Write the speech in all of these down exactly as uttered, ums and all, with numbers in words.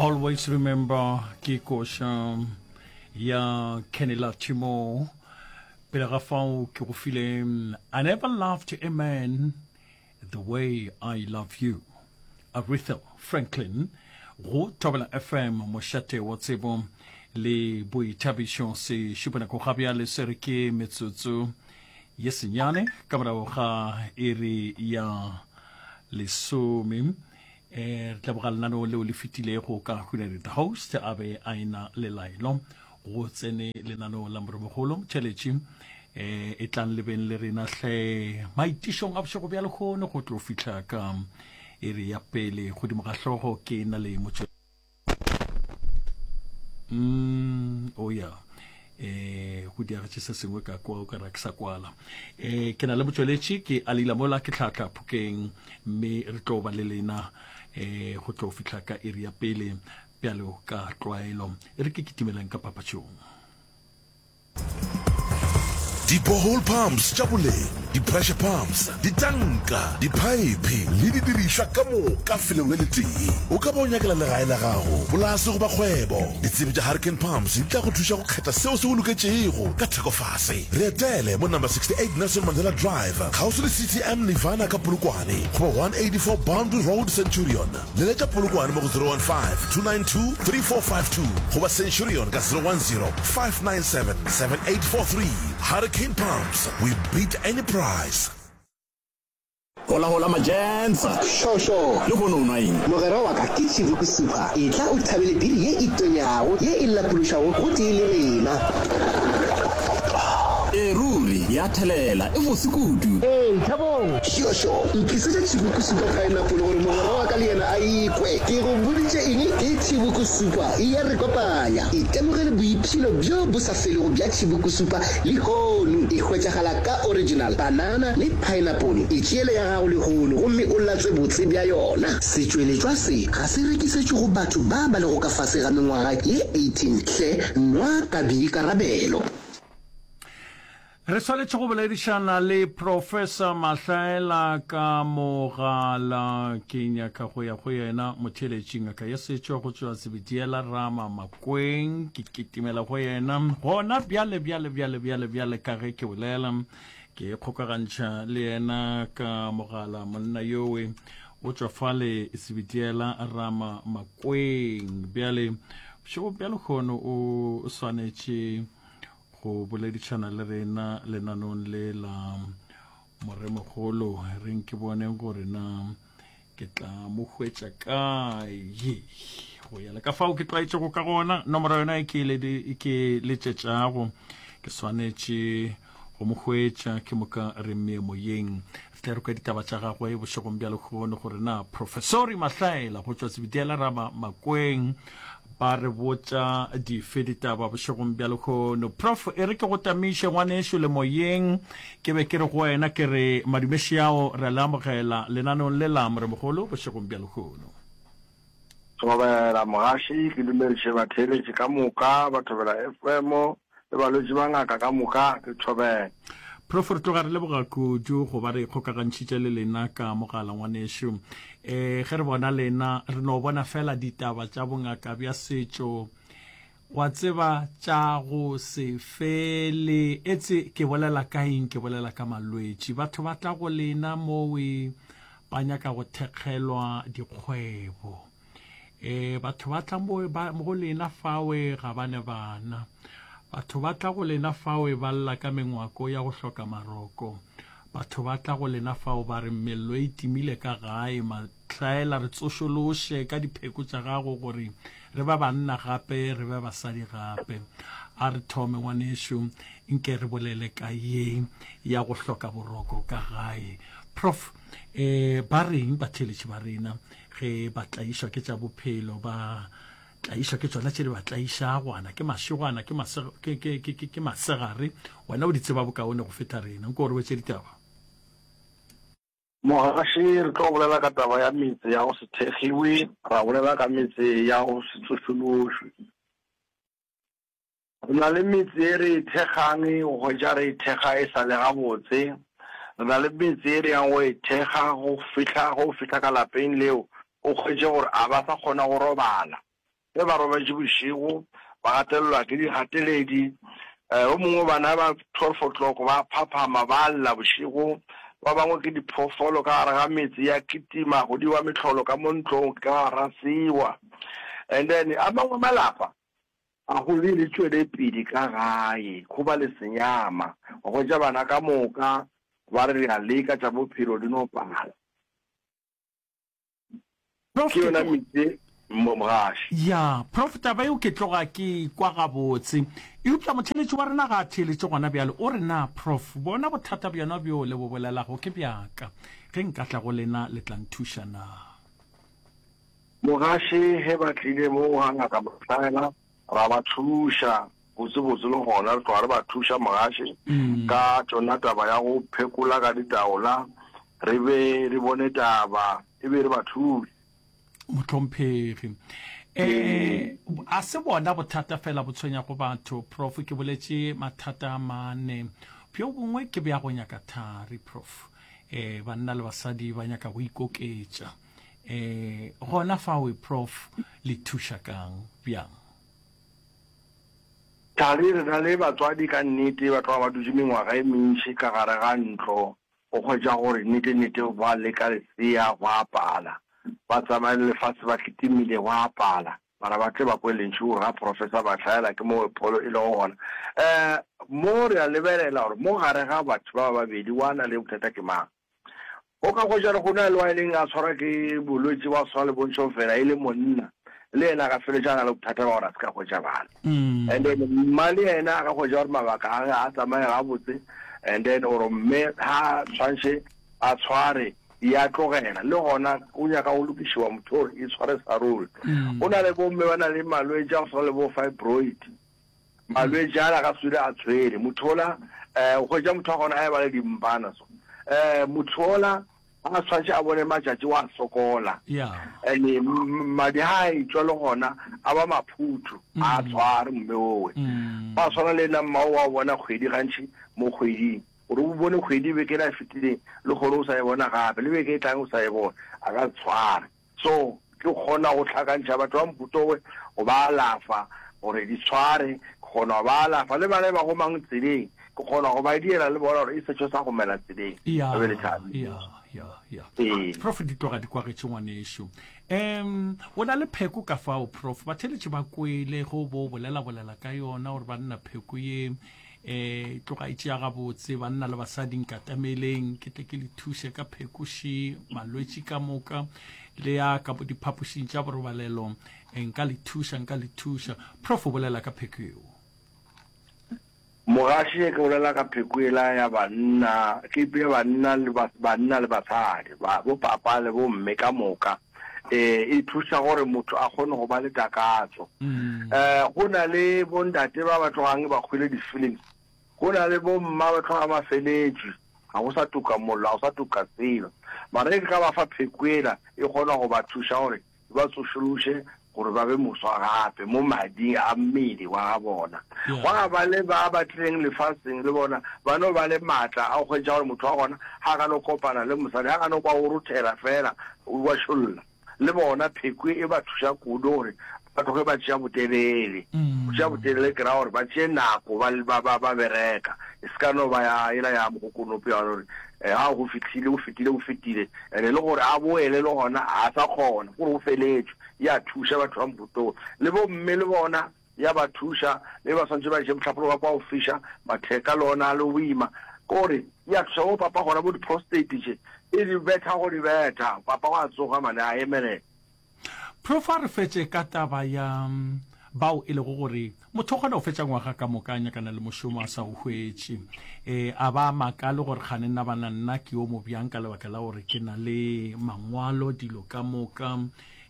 Always Remember ke koša ya Kenny Lattimore. Pele ga fao ke go file I Never Loved a Man the Way I Love You, Aretha Franklin, go Thobela F M, mošate wa tsebo le boithabišo. Se šupanako ga bjale se re ke metsotso ye senyane ka morago ga iri ya lesome. Eh, re tlaboga lenaneo leo le fetilego ka Hunary the host a be a ena le laelo go tsene lenaneo la Moremogolo Motšheletši. um e tlang le beng le rena hle maitišong a bošego bja lehono go tlo fihla ka iri ya pele. Godimo ga hlogo ke na le motšwe mm, oh ya eh go diagetše se sengwe ka kwa o ka ra ke sa kwala. eh ke na le motšweletši ke Alila mola ke tlhatla Phokeng, mme re tlo ba le lena eh go tlo fihla ka iri ya pele bjalo ka tlwaelo. E re ke kitimeleng ka papatšong. Di-borehole pumps tša boleng, di-pressure pumps, ditanka, diphaephe le didirišwa ka moka felong le letee. O ka ba o nyakela legae la gago, polase goba kgwebo. Ditsebi tša Hurricane Pumps di tla go thuša go kgetha seo se go loketšego ka theko fase. Re etele mo number sixty-eight Nelson Mandela Drive, kgauswi le C T M Nirvana ka Polokwane, goba one eighty-four Boundary Road, Centurion. Leletša Polokwane mo go zero one five, two nine two, three four five two goba Centurion ka zero one zero, five nine seven, seven eight four three. Hurricane Pumps, we beat any price. Hola hola majensa. Šošo. Le kgone o nwa eng? Mogwera wa ka, ke Chibuku Super. Etla o thabele biri ye e tonyago, ye e lapološago gotee le rena. E ruri ya thelela, e bose kudu. Ee, Thabong. Šošo, ntlisetše Chibuku Super Pineapple gore mogwera wa ka le yena a ikwe. Ke go boditše eng? Ke Chibuku Super, e ya re kopanya. Itemogele boipshino bjo bo sa felego bja Chibuku Super lehono. E hwetšagala ka original, banana le pineapple. Itšeele ya gago lehono gomme o latswe botse bja yona. Setšweletšwa se ga se rekišetšwe go batho ba ba lego ka fase ga mengwaga ye eighteen. Hle nwa ka boikarabelo. Re swanetše go boledišana le Professor Mahlaela ka mogala. Ke nyaka go ya go yena motheeletši, ngaka ya setšo go tšwa Sebediela Rama Makweng. Ke kitimela go yena gona bjale bjale bjale bjale bjale ka ge ke bolela, ke kgokagantšha le yena ka mogala. Monna yowe o tšwa fale Sebediela Rama Makweng. Bjale bošego bja lehono o swanetše go boledišana le rena lenanong le la Moremogolo. Reng ke bone gore na ke tla mo hwetša kae. Go ya le ka fao ke tlwaetšego ka gona, nomoro yona e ke le- ke letšetšago, ke swanetše go mo hwetša. Ke moka re mmee moyeng, re tla re kwa ditaba tša gagwe bošegong bja lehono, gore na Professori Mahlaela go tšwa Sebediela Rama Makweng ba re botša dife ditaba bošegong bja lehono. Prof, e re ke go tamiše ngwanešo le moyeng. Ke be ke re go wena, ke re madumeši ao re le amogela lenaneong le la Moremogolo bošegong bja lehono. Thobela mogaši, ke dumediše batheeletši ka moka ba Thobela F M le balwetši ba ngaka ka moka, ke thobela. Prof, re tloga re leboga kudu go ba re kgokagantšhitše le lena ka mogala ngwanešo. um ge re bona lena, re no bona fela ditaba tša bongaka bja setšo wa tseba tša go se fele. Etse ke bolela ka eng? Ke bolela ka malwetši. Batho ba tla go lena mowe ba nyaka go thekgelwa dikgwebo. um batho ba tla mo go lena fawe ga ba ne bana. Batho ba tla go lena fawe ba lla ka mengwako ya go hloka maroko. Batho ba tla go lena fao ba re mello e timile ka gae. Mahlaela, re tsošološe ka dipheko tša gago gore re ba banna gape, re be basadi gape. A re thome ngwanešo, nke re bolele ka ye ya go hloka boroko ka gae. Prof, um ba reng batheeletši ba rena ge ba tlaišwa ke tša bophelo, ba tlaišwa ke tšona tše di ba tlaišago, ana ke mašegwana, ke maseg- ke- ke- ke- ke- ke masegare? Wena o di tseba bokaone go feta rena, nko gore wetse ditaba. Mogaši, re tlo bolela ka taba ya metse ya go se thekgiwe, ra bolela ka metse ya go se tsošološwe. Re na le metse e re e thekgang, go hwetša re e thekga e sa le gabotse. Re na le metse e re yang go e thekga go fihla go fihla ka lapeng leo, o hwetše gore a ba sa kgona go robala. Ge ba robetše bošego, ba gatelelwa ke digateledi. O mongwe bana ba twelve o'clock ba phaphama ba lla bošego. Ba bangwe ke diphoofolo ka gare ga metse ya kitima go diwa mehlolo ka mo ntlong ke ka ga sewa. And then a mangwe malapa a go be le tšwelepele ka gae, go ba le senyama. Wa hwetša bana ka moka ba re re a leka tša bophelo di no pala. Prof, Ke ke yona tloga. metse mo mogaši. Ya, Prof, taba yeo ke tloga ke e kwa gabotse. Eupša motheeletši wa rena ga a theeletše gona bjale. O re, Na, Prof, bona bothata bjona bjo le bo bolelago ke bja ka. Ge nka tla go lena, le tla nthuša na? Mogaši, Ge ba tlile mo ga Ngaka Mahlaela, ra ba thuša botsebotse le gona re tloga re ba thuša Mogaši ka tšona taba ya go phekola ka ditaola, re be re bone taba e be re ba thuše. Mohlomphegi, e, a se bona bothata fela bo tshwenyago batho, Prof. Ke boletše mathata a mane. Bjo bongwe ke bja go nyaka thari, Prof. E, banna le basadi ba nyaka go ikoketša. E, gona fawe, Prof, le thuša kang, bjang? Thari, re na le batswadi ka nnete ba tloga ba dutše mengwaga e mentši ka gare ga ntlo, o hwetša gore nnete-nnete ba leka lesea go a pala, ba tsamaya le lefase ba kitimile go a pala, mara ba tle ba kwe lentšu gore ga Professor Mahlaela ke mo pholo e lego gona. Um mo re a lebelela gore mo gare ga batho ba ba babedi wa na le bothata ke mang. O ka hwetša gore go na le wa e leng a tshwarwa ke bolwetši bwa go swana le bontšhofela e le monna, le yena a ka feletša a na le bothata bja gore a se ka hwetša bana. And then mma le yena a ka hwetša gore mabaka a ge a tsamaye gabotse and then or mme ha tshwantšhe a tshware ya tlogela, le gona o nyaka go lokišiwa motho gore e tshware sa ruri. Go na le bomme ba na le malwetši a go swana le bo fibroid, Malwetši ala ga swele a tshwere motho ola, eh, o hwetša motho wa gona a eba le dimpana so. Eh, motho ola a tshwantše a bone matšatši wa sokola. Yeah. And madi ha a etšwa le gona a ba maphuthu, a tshware mme owe. Ba tshwana le nna mmao wa bona kgwedi gantši mo kgweding. Gore o bone kgwedi beke ela e fetileng le gone o sa e bona gape, le beke e tlang o sa e bona, a ka se tshware. So, ke kgona go hlakantšha batho ba Mputowe go ba alafa gore di tshware, ke kgona go ba alafa le bana ba gomang tseleng, ke kgona go ba diela le bona gore e sešo sa gomela tseleng, Ya, ba be le thabile. ya, ya, ya. Ee. Prof, di tloga di kwagetše ngwanešu. Um, o na le pheko ka fao, Prof? Batheeletši ba kwele ge o bo o bolela-bolela ka yona gore banna pheko ye E tloga e tšea gabotse banna le basadi, nkatameleng ke tle ke le thuše ka phekoši malwetši ka moka le ya ka diphapošing tša borobalelo, e, nka le thuša, nka le thuša. Prof o bolela ka pheko yeo. Mogaši, Ke bolela ka pheko yela ya banna, ke ya banna le banna le basadi, ba, bo papa le bo mme ka moka. E, e thuša gore motho a kgone go ba le takatso. Um go na le bontate ba ba tlogang ba hwile di-feelings, go na le bomma ba tloga ba feletšwe, ga go sa tuka mollo, ga go sa tuka selo. Mara ge ke ka ba fa pheko yela, e kgona go ba thuša gore e ba tsošološe gore ba be moswa gape mo mading a mmele wa ga bona. Gwa ba le ba ba tlileng lefaseng le bona ba no ba le maatla a go hwetša gore motho wa gona ga a ka no kopana le mosadi, ga a ka no kwa o rothela feela, o ba šolla. Le bona pheko e ba thuša kudu gore ba tloge ba tšea botelele. Go tšea botelele ke ra gore ba tšee nako ba, ba, ba, ba bereka. E se ka no ba ya yela ya mokokonopo ya gore ga go fihlile, go fetile, go fetile. And-e le gore a boele le gona ga a sa kgona, ke gore go feletšwe. Ya thuša batho ba mohuta wo. Le bomme le bona ya ba thuša, mme ba swanetše ba je mohlapologo wa kwa go fiša, matheka le ona a le boima. Ke gore ya thuša bo papa gona bo di-prostate tše, e di betha go di betha, papa wa tsoga mane a emelela. Prof a re fetše ka taba ya bao e lego gore motho o kgona go fetša ngwaga ka moka a nyakana le mošomo a sa o hwetše, e, a ba makale gore kgane nna bana nna ke yo mobjang ka lebaka la gore ke na le mangwalo dilo ka moka,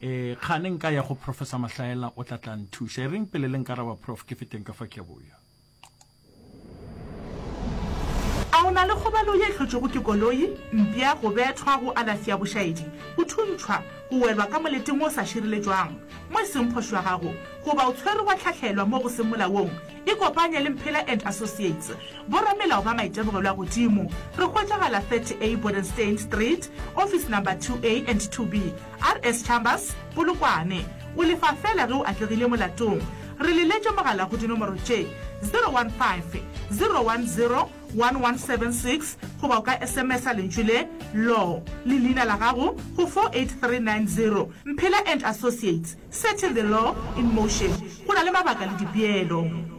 e, kgane nka ya go Professor Mahlaela o tla tla nthuša. E reng pele le nkaraba Prof ke feteng ka fa ke a boya. A o na le kgobalo ye e hlotšwego ke koloi, mpša, go bethwa, go alafša bošaedi, go thuntšhwa, go welwa ka moleteng wo o sa šireletšwang, mo e seng phošo ya gago, goba o tshwerwe wa hlahlelwa mo go seng molaong? Ikopanye le Mphela and Associates, boramelao ba maitemogelo a godimo. Re hwetšagala thirty A Bodenstein Street, Office Number two A and two B, R S Chambers, Polokwane. O lefa feela ge o atlegile molatong. Re leletše mogala go dinomoro tše, zero one five, zero one zero, one one seven six goba o ka S M S-a lentšu le, Law, le leina la gago go four eight three nine zero. Mphela and Associates, setting the law in motion. Go na le mabaka le dipeelo.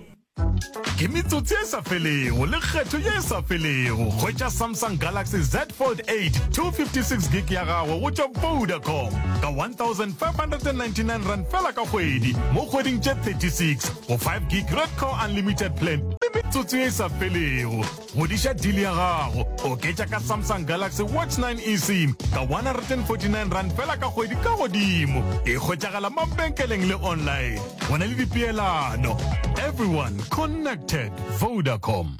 Ke metsotso e sa felego le kgetho ye e sa felego. Hwetša Samsung Galaxy Z Fold eight two fifty six gig ya gago go tšwa Vodacom ka one thousand five hundred and ninety nine rand fela ka kgwedi mo kgweding tše thirty six go five gig Red Core Unlimited plan le metsotso ye e sa felego. Godiša deal ya gago, oketša ka Samsung Galaxy Watch nine eSIM ka one hundred and forty nine rand fela ka kgwedi ka godimo. E hwetšagala mabenkeleng le online. Go na le dipeelano. Everyone connected. Vodacom.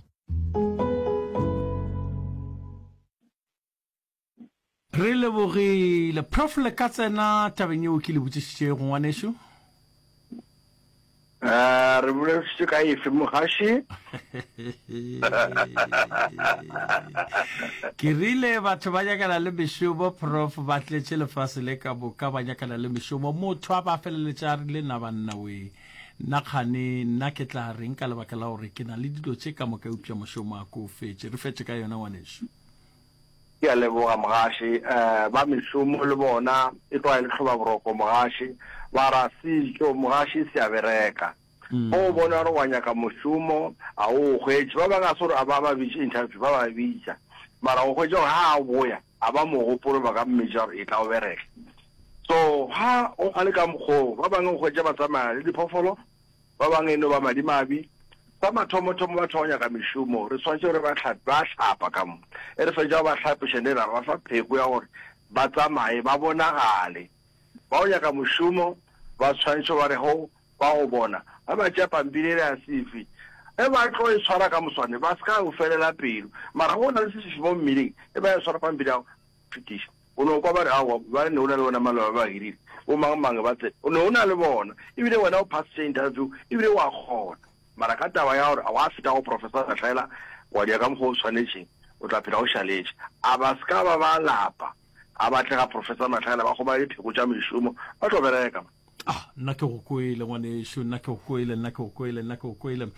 Re lebogile. Prof le ka tsena tabeng yeo ke le botšišitšego ngwanešu? Eh, re boledišitše ka efe mogaši? Ke rile batho ba nyakana le mešomo prof, ba tletše lefase le ka moka ba nyakana le mešomo. Motho a ba feleletša a rile na banna we, nna kgane nna ke tla reng ka lebaka la gore ke na le dilo tše ka moka eupša mošomo a ko o fetše. Re fetše ka yona ngwanešu. Ke a leboga mogaši. Ba mešomo le bona e tloga e le hlobaboroko mogaši. Ba ra setšo mogaši se a bereka. Ge o bona gore wa nyaka mošomo a o o hwetše. Ba bangwe ga se gore a ba ba bitše interview, ba ba bitša. Mara o hwetša gore ha a boya a ba mo gopole ba ka mmitša gore etla o bereke. So ha go le ka mokgwa oo, ba bangwe o hwetša ba tsamaya le diphoofolo. Ba bangwe e no ba madimabe. Sa mathomothomo batho ba go nyaka mešomo, re swanetše re ba hlape, ba hlapa ka mo. E re fetša go ba hlapiša ne ra ba fa pheko ya gore ba tsamaye, ba bonagale. Ba go nyaka mošomo ba swanetše ba re ho ba go bona, ge ba tšea pampiri yela ya C V, ge ba tlo e tshwara ka moswane ba se ka o felela pelo. Mara ge o na le sefifi mo mmeleng, ge ba e tshwara pampiri ya go fetiša, O no kwa ba re, Aowa, ba ne o na le bona maloba ba hirile, bo mang mang ba tsene. O ne o na le bona, ebile wena o phasitše interview, ebile wa kgona. Mara ka taba ya gore wa feta go Professor Lahlela, wa dira ka mokgwa o swanetšeng, o tla phela o šaletše. A ba se ka ba ba lapa, a ba tle ga Professor Mahlayela ba kgomane dipheko tša mešomo, ba tlo bereka. Ah, nna ke go kwele ngwanešu, nna ke go kwele, nna ke go kwele, nna ke go kwele.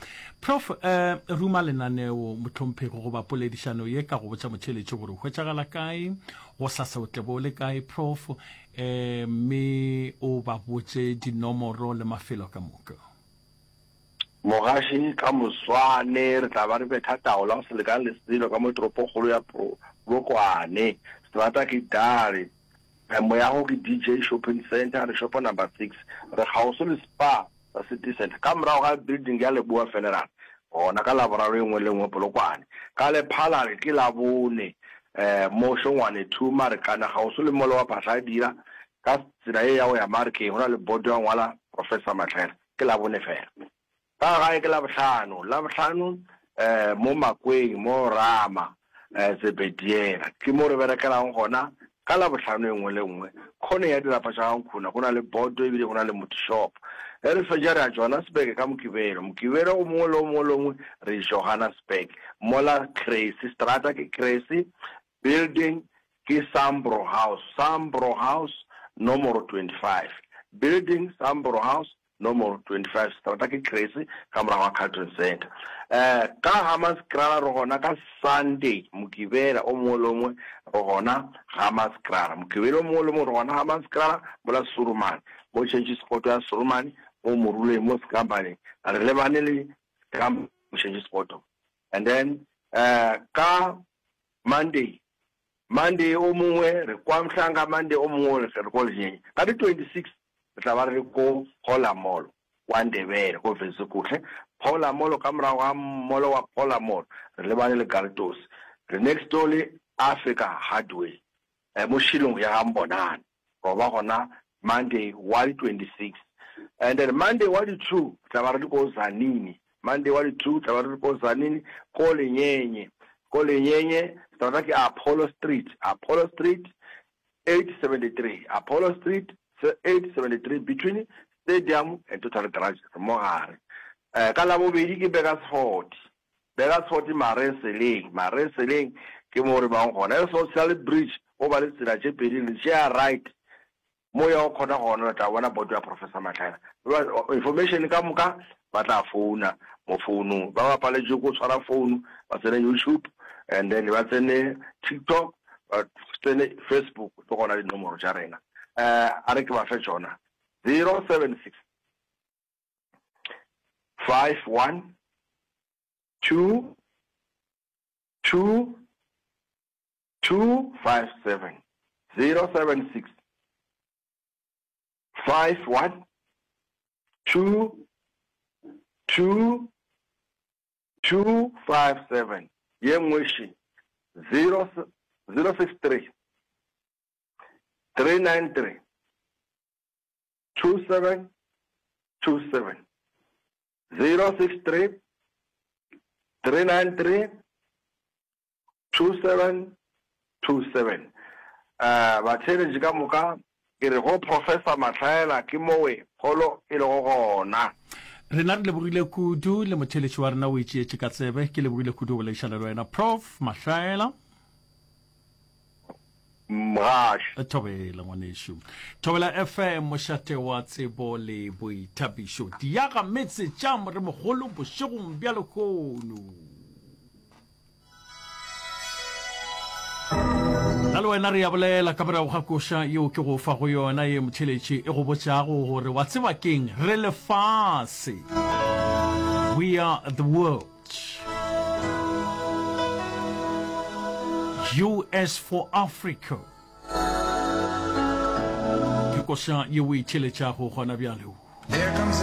Prof, eh, ruma lenaneo mohlomphegi goba poledišano ye ka go botša motheeletši gore o hwetšagala kae, gosasa o tle bo o le kae, Prof, eh, mme o ba botše dinomoro le mafelo ka moka. Mogaši, ka moswane re tla ba re betha taola go se lekane le selo ka mo toropokgolo ya Polokwane. Seterata ke Dale. Moyago ke D J Shopping Centre, re shopo number six. Re kgauswi le Spar sa City Centre, ka morago ga building ya Leboa Funeral, gona ka Laboraro e nngwe le nngwe Polokwane. Ka Lephalale ke Labone, mo Šongwane two, Marikana, kgauswi le molo wa Phahladira, ka tsela ye ya go ya Marikeng, go na le boto ya go ngwala Professor Matlhela. Ke Labone fela. Ka gae ke Labohlano, Labohlano mo Makweng, mo Rama, Zebediela. Ke mo re berekelang gona ka Labohlano e nngwe le nngwe. Khoneng ya dirapa tša ga Nkhuna go na le boto ebile go na le motho shop. Ge re fetša re ya Johannesburg ka Mokibelo. Mokibelo o mongwe le o mongwe le o mongwe re Johannesburg. Mola Cressy, seterata ke Cressy, building ke Sambro House, Sambro House nomoro twenty five. Building Sambro House Nomoro twenty five seterata ke Cressy ka morago ga Carlton Centre. Eh, ka Hammanskraal re gona ka Sunday, Mokibela o mongwe le o mongwe re gona Hammanskraal. Mokibela o mongwe le o mongwe re gona Hammanskraal mola Surumane, mo Change Spot ya Surumane, mo Moruleng, mo Skampaneng. Re lebane le Skamp mo Change Spot. And then eh, ka Monday, Monday o mongwe re kwa Mhlanga, Monday o mongwe re ko Lenyenye. Ka di twenty six re tla ba re le ko Phola Mall, kwa Ndebele, ko Vetsekuhle. Phola Mall, ka morago ga mall wa Phola Mall, re lebane le Galtos. Re next door le Africa Hardware, mo Shillong ya ga Mbonane. Ro ba gona Monday wa di twenty six. And then Monday wa di two, re tla ba re le ko Tzaneen. Monday wa di two, re tla ba re le ko Tzaneen, ko Lenyenye. Ko Lenyenye, seterata ke Apollo Street, Apollo Street, eight seventy three, Apollo Street, eight seventy three, between Stadium and Total Garage, re mo gare. Ka Labobedi ke Burgersfort, Burgersfort Mareseleng, Mareseleng ke mo re bang gona. Ge re so tshela le bridge, go ba le tsela tše pedi, re tšea right, Mo ya go kgona gona le tla bona boto ya Professor Mahlaela. Information ka moka ba tla founa mo founung. Ba ba paletšwe ko tshwara founu ba tsene YouTube and then ba tsene TikTok ba tsene Facebook ke gona dinomoro tša rena. Eh a re ke ba fe tšona zero seven six five one two two two five seven zero seven six five one two two two five seven ye nngwe še zero zero six three three nine three two seven two seven zero six three three nine three Two seven two seven Uh, batheeletši ka moka, ke re go Professor Mahlaela ke mowe pholo e lego gona. Rena re lebogile kudu, le motheeletši wa rena o e tšeetše ka tsebe. Ke lebogile kudu go boledišana le wena, Prof. Mahlaela. Mgaši. Thobela ngwanešu. Thobela F M, mošate wa tsebo le boithabišo. Diaga metse tša moremogolo bošegong bja lehono. Nna le wena re ya bolela ka morago ga koša yeo ke go fa go yona ye motheletši e go botšago gore wa tseba keng re lefase. We are the world. U S for Africa. Ke koša ye o e theletšago gona bjale.